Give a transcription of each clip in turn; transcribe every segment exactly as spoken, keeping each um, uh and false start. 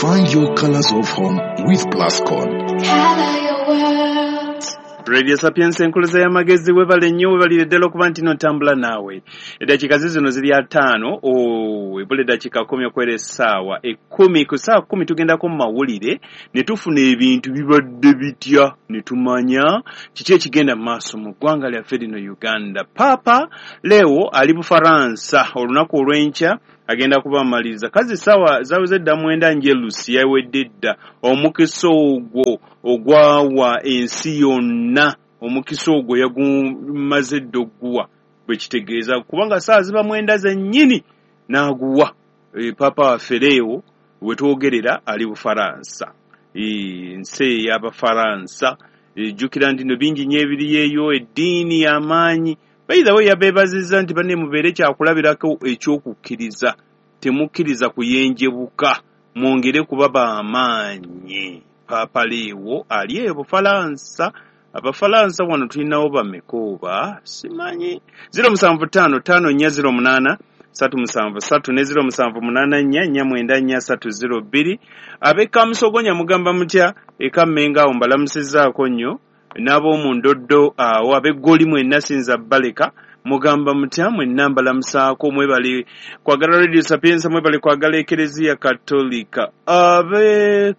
Find your colors of home with Plascon. Color your world. Radio Sapiens enkuluza y'amagezi, webale nnyo, webalire ddala okuba nti notambula naawe. Eddakiika zizino ziri ataano, oh, ebula eddakiika kkumi okwera essaawa ekkumi. Ku ssaawa kkumi tugendako mu mawulire ne tufuna ebintu bibadde bitya ne tumanya kiki ekigenda mu maaso mu ggwanga lyaffe lino Uganda. Paapa Leo ali Bufaransa, olunaku olw'enkya agenda kubamaliriza. Kazi ssaawa zaweze dda mwenda njerusi, yawedde dda omukisa ogwo ogwawa ensi yonna, omukisa ogwo yagumaze dda ogguwa, bwe kitegeeza kubanga ssaawa ziba mwenda zennyini n'aguwa. E, Paapa waffe Leo we twogerera ali Bufaransa, ensi ey'Abafaransa. Jjukira nti no bingi nnyo ebiriyo eyo, eddiini y'amaanyi. By the way, yabeebazizza nti banne mubeere kyakulabirako ekyokukkiriza, temukkiriza kuyenjebuka, mwongere kuba b'amaanyi. Paapa Leo ali eyo Bufalansa. Abafalansa wano tulinawo bameka oba simanyi. zero musanvu ttaano ttaano nnya zero munaana ssatu musanvu ssatu ne zero musanvu munaana nnya nnya mwenda nnya ssatu zero bbiri. Ab'e Kamusogonya mugamba mutya? E Kammengo awo mbalamusizzaako nnyo, n'ab'omu Ndoddo awo, ab'Eggoli mwenna sinza baleka, mugamba mutya? Mwenna mbalamusaako, mwebale kwagala Radio Sapienza, mwebale kwagala Ekereziya Katolika. Abe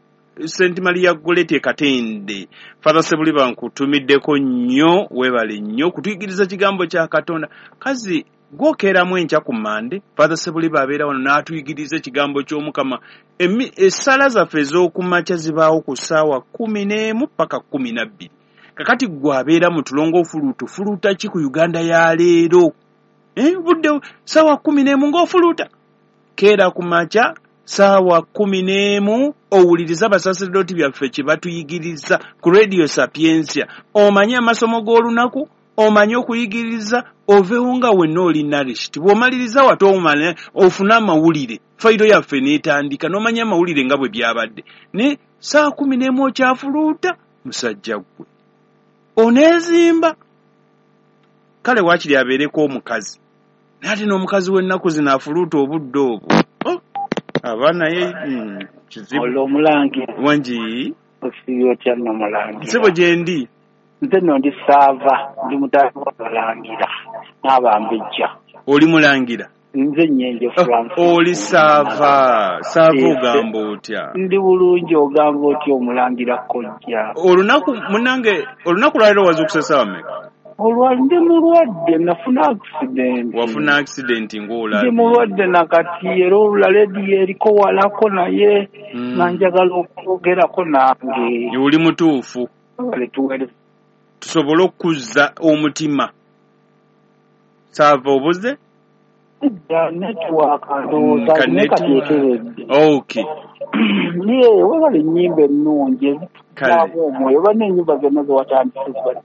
Saint Maria Goretti e Katende, Father Sebuliba nkutumiddeko nnyo, weebale nnyo kutuyigiriza kigambo kya Katonda. Kazi gwokeeramu enkya ku Mande, Father Sebuliba abeera wano n'atuyigiriza ekigambo ky'Omukama. Essala zaffe ez'okumakya zibaawo ku ssaawa kkumi n'emu paka kkumi na bbiri. Kakati ggwe abeera mu tulongo ofuluuta, ofuluuta ki ku Uganda ya leero? Eh, budde ssaawa kkumi n'emu ng'ofuluuta? Keera ku makya ssaawa kkumi n'emu owulirize abasaserdooti byaffe kye batuyigiriza ku Radio Sapientia. Omanye amasomo g'olunaku, omanye okuyigiriza, oveewo nga wenna oli nourished. Bw'omaliriza wate omanye ofune amawulire, fayiro yaffe n'etandika n'omanya amawulire nga bwe byabadde. Ne ssaawa kkumi n'emu okyafuluuta, musajja ggwe oneezimba. Kale waakiri abeereko omukazi, naye ate n'omukazi w'ennaku zino afuluuta obudde obwo. Oh, aba naye mm, kizibu. Olwo omulangira. Wangi. Osiibye otya nno mulangira? Ssebo gye ndi. Nze nno ndi Saava, ndi mutaani w'abalangira n'abambejja. Oli mulangira? Nze Nyenje Francis. Oli Saava. Saava, ogamba otya? Ndi bulungi, ogamba otya omulangira kojja? Olunaku munnange, olunaku lwaleero wazuukuse ssaawa mmeka? Olwa ndi mulwadde, nafuna accident. Wafuna accident ng'olabye. Ndi mulwadde nakati, era olula lediyo eriko walako naye Mm. nga njagala okwogerako nange. Oli mutuufu. Wale tuweereza. Tusobole okuzza omutima. Saava, obuze? Nedda, network ndowooza Ka naye kati network. eteredde. Okay. Ye webale ennyimba ennungi Kale. ezituzaamu omwoyo, banna ennyimba zonna ze watandise ziba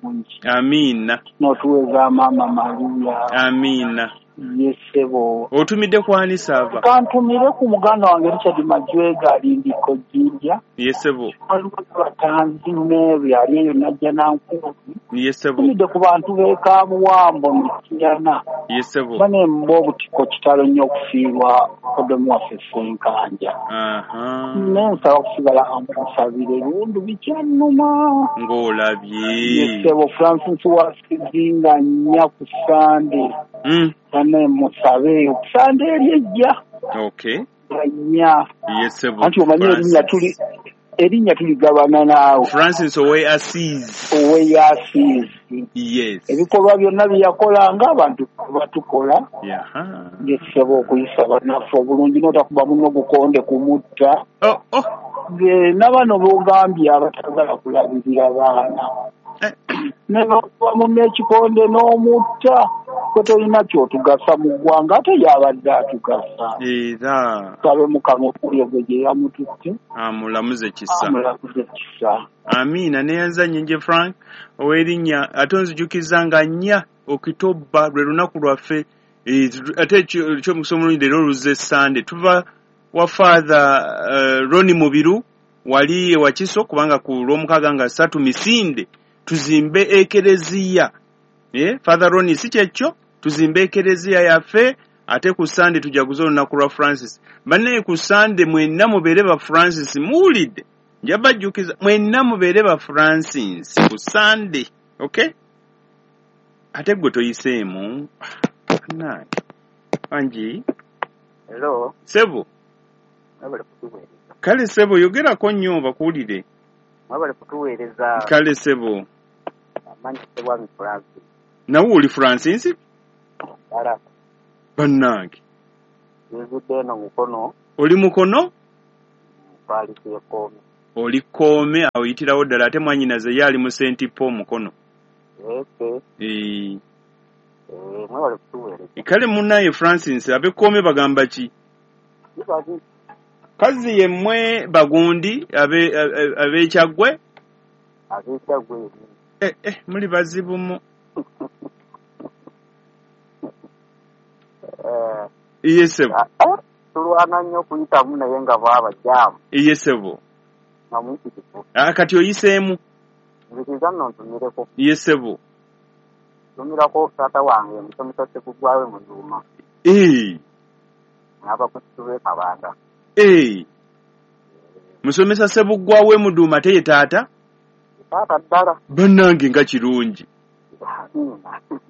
nnungi. Amiina. N'otuweeza Maama Maria. Amiina. Ye ssebo. Otumidde kwani, Saava? Kantumire ku muganda wange Richard Majwega alindiko Jjinja. Ye ssebo. Waliwo Batanzi Mary ali eyo Najja Nankuzi. Ye ssebo. Tumidde ku bantu b'e Kamuwambo Mityana. Ye ssebo. Banemba obutiko, kitalo nnyo okufiirwa odomu waffe Ssenkanja. Aha. Nensaba okusigala amusabire lundu bikyannuma. Ng'olabye. Ye ssebo. Francis wasizinga nnya ku Sande. Mm. Banne musabe ku Sande eri ejja. Okay. Nnya. Ye ssebo. Anti omanyi erinnya tuli erinnya tuligabana naawe. Francis owe Assis. Owe Asiisi. Yes. Ebikolwa byonna bye yakolanga abantu batukola. Yaha. Ye ssebo, okuyisa bannaffe obulungi n'otakuba munno gukonde kumutta. Oh, oh. N'abano b'ogambye abatagala kulabirira baana. Eh. Ne bakuba munno ekikonde n'omutta, kwe tolina ky'otugasa mu ggwanga ate yabadde atugasa. Era Sabe Mukama okulyo gwe gye yamututte. Amulamuze kisa. Amulamuze kisa. Amiina. Neyanza Nyenje Frank ow'erinnya, ate onzijukiza nga nnya Okitoba lwe lunaku lwaffe. Eh, ate ekyo- ekyomukisa omulungi leero oluzze Sande tuva wa Father uh, Roni Mubiru wali ewakiso, kubanga ku lwomukaaga nga ssatu misinde tuzimbe ekereziya. Eh, Father Roni, si kyekyo? Tuzimbe ekereziya yaffe. Ate ku Sande tujaguze olunaku lwa Francis. Bannaye ku Sande mwenna mubeere ba Francis, muwulidde? Nja bajjukiza mwenna mubeere ba Francis ku Sande, okay? Ate gwe toyiseemu. Bannange. Angi? Hello. Sebo. Mwebale kutuweereza. Kale sebo, yogerako nnyo bakuwulire. Mwebale kutuweereza. Kale sebo. Amanyi Sebwami Francis. Nawe oli Francis? Ddala. Bannange. Nzudde eno Mukono. Oli Mukono? Paalisi y'e Kkoome. Oli Kkoome, awo oyitirawo ddala, ate mwannyinaze ye ali mu Saint Paul Mukono. Eke. Eh. Eh, mwebale kutuweereza. Kale munnaye Francis, ab'e Kkoome bagamba ki? Bibali. Kazi ye mmwe bagundi ab'Ekyaggwe? Ab'Ekyaggwe. Eh, eh, muli bazibu mu. Eh. Iye sebo. Tulwana nnyo okuyitamu naye nga bwaba jaamu. Iye sebo. Nga muyitirivu. Ah, kati oyiseemu? Nzikiriza nno ntumireko. Iye sebo. Ntumirako taata wange musomesa Ssebuggwawo Muduuma. Eh. N'abakusitu b'e Kabanda. Eh. Musomesa Ssebuggwawo Muduuma teye taata? Taata ddala. Bannange nga kirungi.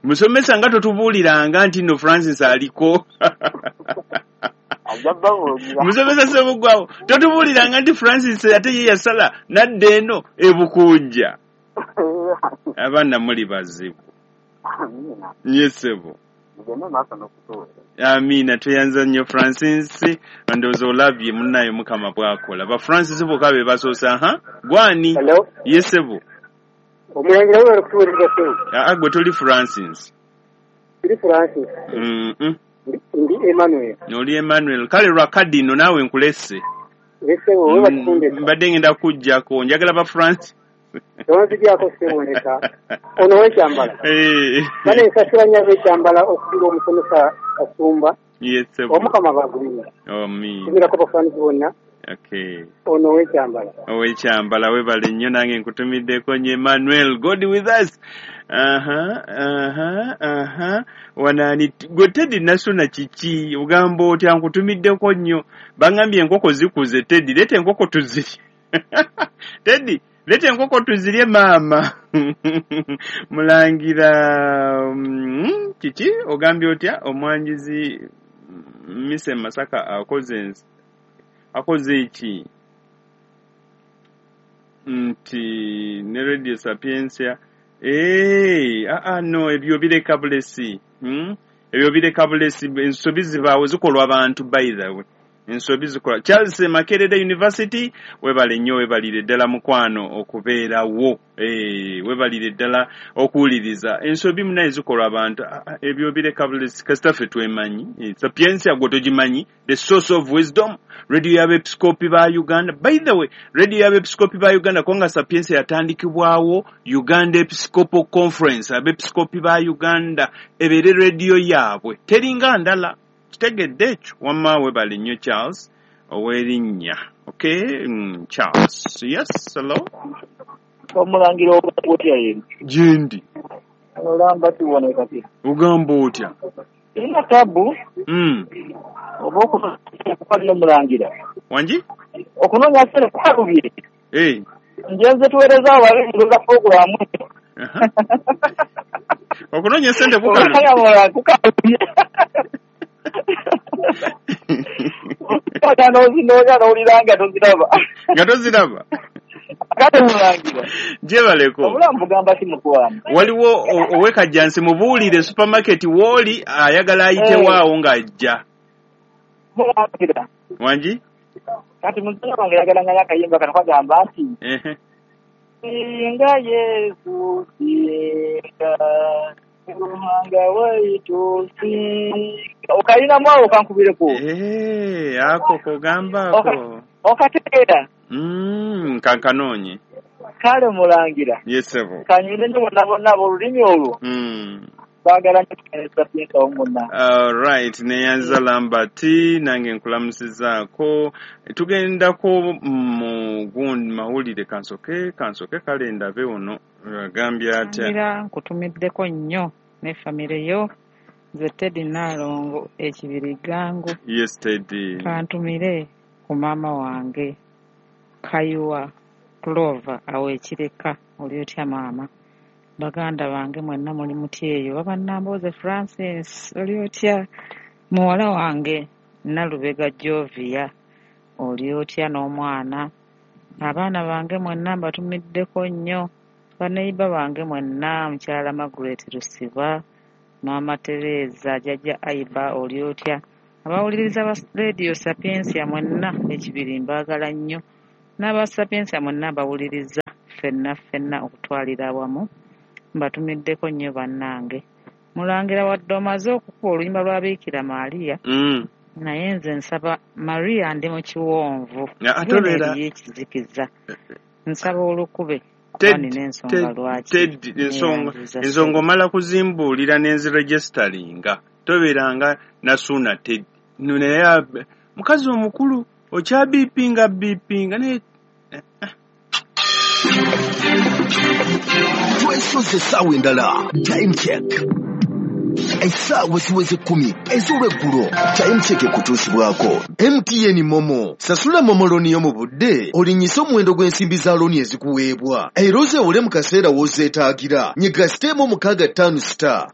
Musomesa nga totubuuliranga nti nno Francis aliko. Ajja babuulira. Musomesa Ssebuggwawo totubuuliranga nti Francis ate ye yasala n'adda eno e Bukunja. Abaana muli bazibu. Amiina. Ye ssebo. Mugende maaso n'okutuweereza. Amiina, tweyanza nnyo Francis. Ndowooza olabye munnaye Mukama bw'akola. Ba Francis bokka be basoose. Aha, gwani? Hello? Ye ssebo. Omulangira we kutuweereza ssebo. Aa, gwe toli Francis. Ndi Francis. Mm-mm. Ndi Emmanuel. Oli Emmanuel. Kale lwa kadi nno naawe nkulesse. Ssebo, we bakutundeka. Mbadde ngenda kujjako. Njagala ba Francis. Tonzigyako ssebo ndeka. Ono w'ekyambala. Eh. Bane nsasula nnyo ab'ekyambala okugira omusomesa Kasumba. Yes, ssebo. Omukama bagumye. Amiina. Tumirako bafaanisi bonna. Okay. Ono w'ekyambala. Ow'ekyambala webale nnyo nange nkutumiddeko nnyo Emmanuel. God with us. Aha, aha, aha. Wanaani gwe Teddy Nasuna kiki? Ogamba otya nkutumiddeko nnyo. Bangambye enkoko zikuze Teddy, leeta enkoko tuzirye. Teddy, leeta enkoko tuzirye maama. Mulangira mm, kiki? Ogambye otya omwanjuzi Mise Masaka akoze akoze ki? Nti ne Radio Sapientia. Eh, ah ah no, ebyo bireka bulesi. Hmm? Ebyo bireka bulesi, ensobi zibaawo zikolwa abantu by the way. Ensobi zikola. Charles Makerere University, webale nnyo, webalire ddala mukwano okubeerawo. Eh, webalire ddala okuwuliriza. Ensobi munaye zikolwa abantu. Ebyo bireka bulesi, kasita ffe twemanyi. Eh, Sapientia gwe togimanyi, the source of wisdom. Radio y'abeepiskopi ba Uganda. By the way, radio y'abeepiskopi ba Uganda kubanga Sapientia yatandikibwawo Uganda Episcopal Conference, abeepiskopi ba Uganda ebeere radio yaabwe. Teringa ndala. Kitegedde ekyo. Wamma webale nnyo Charles ow'erinnya. Okay, mm, Charles. Yes, hello. Omulangira otya yeno? Gyendi. Olamba tiwone kati. Ogamba otya? Ina tabu. Mm. Oba okunoonya omulangira. Wangi? Okunoonya ssente kukalubye. Eh. Njenze tuweereza abalenzi pulogulaamu. Okunoonya ssente kukalubye. Kukalubye. Okunoonya n'ozinoonya n'owulira nga toziraba. Nga toziraba? Kale mulangira. Gyebaleko. Obulamu bugamba ki mukwano? Waliwo ow'e Kajjansi mubuulire supermarket w'oli ayagala ayitewo awo ng'ajja. Mulangira. Wangi? Kati muzzukulu wange yagala nga akayimba kano kagamba nti Singa Yesu singa Ruhanga waitu singa. Okalinamu awo kankubireko. Eh, ako kogamba ako. Okategeera. Mm, kankanoonye. Kale mulangira. Yes, sebo. Kanyumire nnyo bonna bonna ab'olulimi olwo. Mm. Baagala nnyo okutereeza Sapientia awo mwonna. All right, neyanza Lambert nange nkulamusizaako. Tugendako mu gundi mawulire kansoke kansoke kale ndabe ono agambye atya. Ngira nkutumiddeko nnyo ne famire yo Nze Teddy Nnaalongo ekibirigango. Yes, Teddy. Kantumire ku maama wange Kayiwa Clover awo ekireka oli otya maama? Baganda bange mwenna muli mutya eyo? Baba Nambooze Francis oli otya? Muwala wange Nalubega Jovia oli otya n'omwana? Abaana bange mwenna mbatumiddeko nnyo. Baneiba bange mwenna mukyala Margaret Lusiba, Maama Tereza, Jjajja Aiba oli otya? Abawuliriza ba Radio Sapientia mwenna ekibiri mbaagala nnyo. N'aba Sapientia mwenna mbawuliriza ffenna ffenna okutwalira awamu mbatumiddeko nnyo bannange. Mulangira wadde omaze okukuba oluyimba lwa Biikira Maria Mm. naye nze nsaba Maria ndi mu kiwonvu Ate genda obeera eriyo ekizikiza nsaba olukube kuba Ted, nina ensonga Ted, lwaki Ted, ensonga neeyanziza ensonga ssebo. omala kuzimbuulira n'enziregisteringa tobeeranga nasuuna Ted no naye ab- mukazi omukulu okyabiipinga biipinga naye Twesoze essaawa endala time check essaawa ziweze kkumi ez'olweggulo time check ekutuusibwako M T N MoMo. Sasula MoMo loan yo mu budde olinyise omuwendo gw'ensimbi za looni ezikuweebwa era ozeewole mu kaseera w'ozeetaagira. Nyiga star emu mukaaga ttaano star.